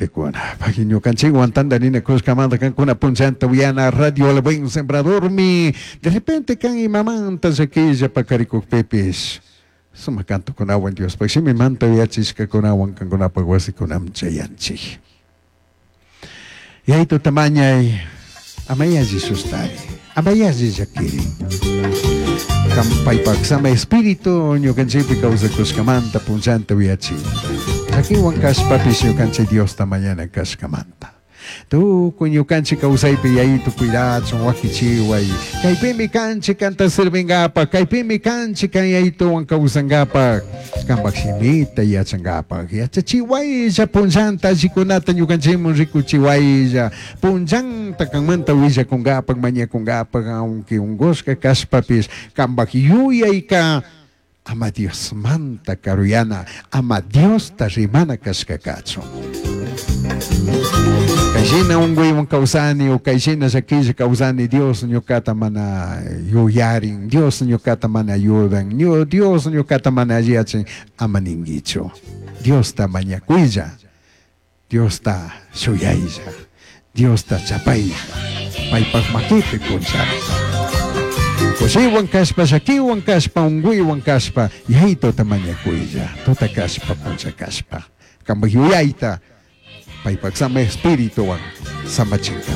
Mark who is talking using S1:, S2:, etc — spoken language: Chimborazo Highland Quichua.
S1: Gentecuna. Pagui ñukanchikwan tantarinakushkamanta kankuna punllanta uyana Radio El Buen Sembradormi. De repente kan imamanta llaquilla pakarikukpipish sumak cantokunawan Diospaj shimimanta uyachishkakunawan kankunapak wasikunaman chayanchik. Yayituta mañay, ama yalli sustari, ama yalli llakiri. Kan paypak sama espíritu ñukanchikpi kawsakushkamanta punllanta uyachin. Llakiwan kashpapish ñukanchik Diosta mañana kashkamanta. Tukuy ñukanchik kawsaypi Yayitu cuidachun wakichiway. Kaypimi kanchik kanta sirvingapak, kaypimi kanchik kan Yayituwan kawsangapak, kanpak shimita yachangapak. Yachachiwaylla punllanta allikunata ñukanchikman rikuchiwaylla. Punllanta kanmanta willakungapak, mañakungapak, aunque ungushka kashpapish kanpak yuyayka ama Diosmanta karuyana, ama Diosta rimana kashka kachun. Kayshina unkuywan kawsani o kayshina llakilla kawsani, Dios ñukata mana yuyarin, Dios ñukata mana ayudan, Dios ñukata mana alliyachin, ama ninguichu. Diosta mañakuylla, Diosta shuyaylla, Diosta chapaylla, paypak makipi punllanta. Kushiwan kashpa, llakiwan kashpa, unkuywan kashpa, Yayituta mañakuylla, tuta kashpa, punlla kashpa. Kanpak yuyayta, paypak sama espirituwan samachinka.